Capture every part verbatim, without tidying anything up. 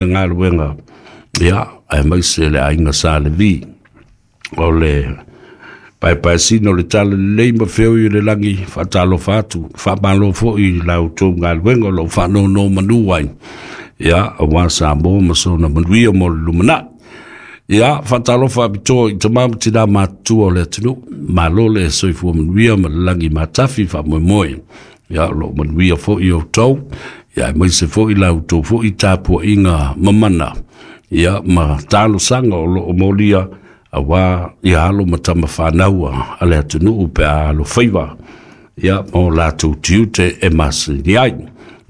Galuega, ia, aemaise le aiga Sa Levi o le paepaesina o le talalelei ma feoi o le lagi. Faatalofa atu, faamalo foi i la outou galuega o loo faanonomanu ai, ia, aua Samoa ma sona manuia mo le lumanai. Ia, faatalofa apitoa i tamā ma tinā matutua o le atunuu. Malo le soifua manuia ma le lagi matafi. Faamoemoe, ia, o loo manuia foi outou, ia, aemaise foi la outou foi tapuaiga mamana, ia, ma talosaga o loo molia aua ia alo ma tama fanaua a le atunuu pe a alofaiva, ia, ma o latou tiute e masani ai.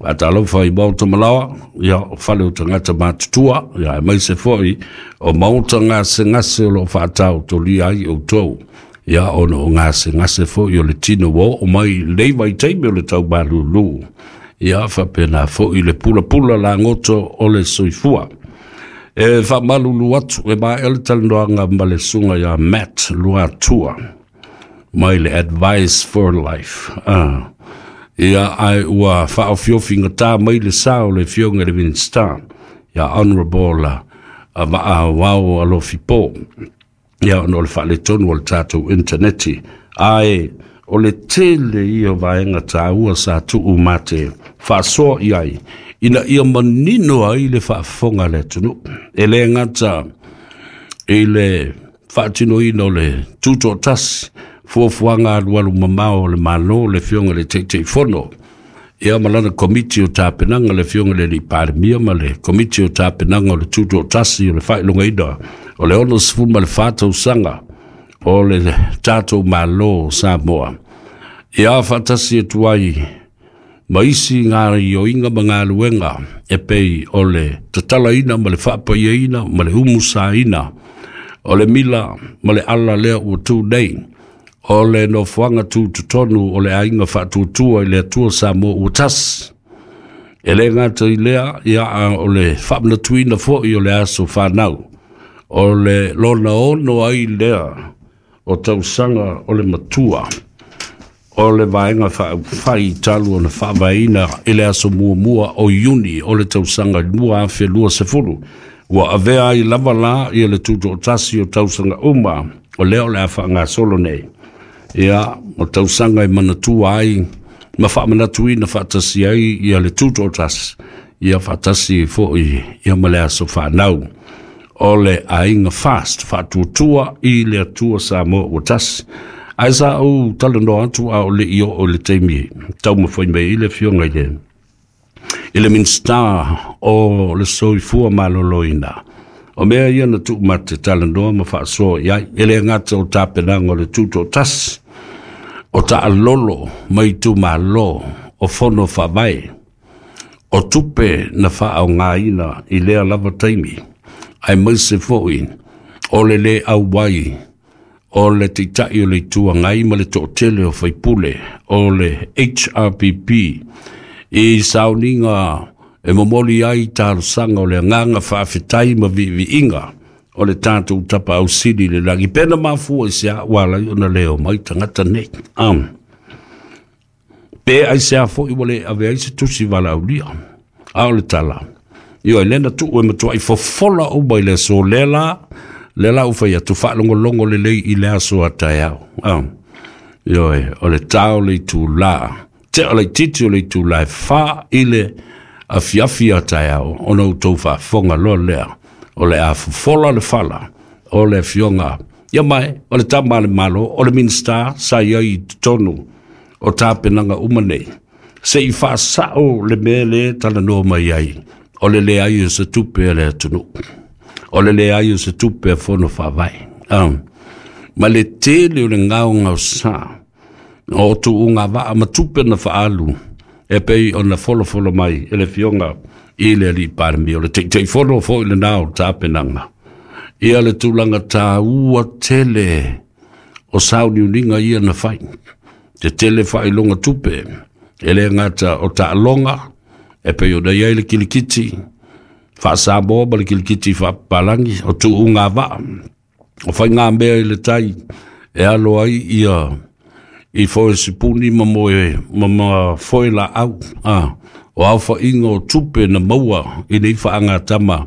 Faatalofa i maota malaoa, ia, o fale o tagata matutua, ia, aemaise foi o maota gasegase o loo faataotolia ai outou, ia, ona o gasegase foi o le tino ua oo mai lei vaitaimi o le taumalūlū, ia, faapena foi le pulapula lagoto o le soifua. E faamalulu atu, e maea le talanoaga ma le susuga ia Matt Luatua mai le Advice for Life, ah. Ia, ae ua faaofiofigatā mai le sa o le afioga i le Minisita ia Honorable Vaa Alofi Po, ia, ona o le faaletonu o le tatou intaneti, ae o le tele ia o vaega taua sa tuu mate faasoa i ai ina ia manino ai le faafofoga a le atunuu, e lē gata i le faatinoina o le tutoatasi, fuafuaga alualu mamao o le Malo, le afioga i le Taitaifono, ia, ma lana komiti o tapenaga, le afioga i le alii Palemia ma le komiti o tapenaga o le tutoatasi o le faailogaina o le ono sefulu ma le fa tausaga o le tatou Malo o Samoa, ia, faatasi atu ai ma isi gaoioiga ma galuega e pei o le tatalaina ma le faapaiaina ma le umusaina o le mila ma le ala lea ua tu nei o le nofoaga tutotonu o le Aiga Faatuatua i le Atua Samoa ua Tasi. E lē gata i lea, ia, o le faamanatuina foi o le aso fanau o le lona ono ai lea o tausaga o le matua o le Vaega Faaupufai talu ona faavaeina i le aso muamua o Iuni o le tausaga lua afe lua sefulu, ua avea ai lava la ia le tutoatasi o tausaga uma o lea o le a faagasolo nei, ia, o tausaga e manatua ai ma faamanatuina faatasi ai ia le tutoatasi, ia, faatasi foi, ia, ma le aso fanau o le Aiga Fast Faatuatua i le Atua Samoa ua Tasi. Ae sa ou talanoa atu a o le i oo i le taimi taumafai mai ai le afioga i le i le Minisita o le Soifua Maloloina, o mea ia na tuu mate talanoa ma faasoa i ai, e le gata o tapenaga o le tutoatasi, o taalolo mai itumalo, o fono faavae, o tupe na faaaogaina i lea lava taimi, aemaise foi o le lē auai o le Taitai o le Itu Agai ma le toatele o faipule o le H R P P i sauniga e momoli ai talosaga o le agaga faafetai ma viiviiga o le tatou Tapaau Sili i le lagi. Pena mafua i se a ua alai ona leo mai tagata nei, um, pe ai se a foi ua le ave ai se tusi valaaulia, a o le tala io e lena tuu e matuai fofola uma i le aso lea la lea la ua fai atu. Faalogologo lelei i le aso a taeao, um, ioe, o le tao le itulā tea o laititi o le itulā e fa i le afiafi a taeao, ona outou faafofoga loa lea o le a fofola le fala o le afioga, ia, mai o le tama a le Malo, o le Minisita sa i ai i totonu o tapenaga uma nei, se i faasao le mea le talanoa mai ai o le leai o se tupe a le atunuu, o le leai o se tupe a fono faavae, um, ma le tele o le gaogaosa o tuuga vaa ma tupe na faaalu e pei ona folofolo mai e le afioga i le alii Palemia, o le Taitaifono foi lenā o tapenaga, ia, le tulaga tāua tele o sauniuniga ia na fai, te tele faailoga tupe, e le gata o taaloga e pei ona i ai le kilikiti faa-Samoa ma le kilikiti faapapalagi, o tuuga vaa, o faigamea i le tai e alo ai ia i foe sipuni ma moe ma, ma foe laau, a O aofa'iga o tupe na maua i nei fa'agatama.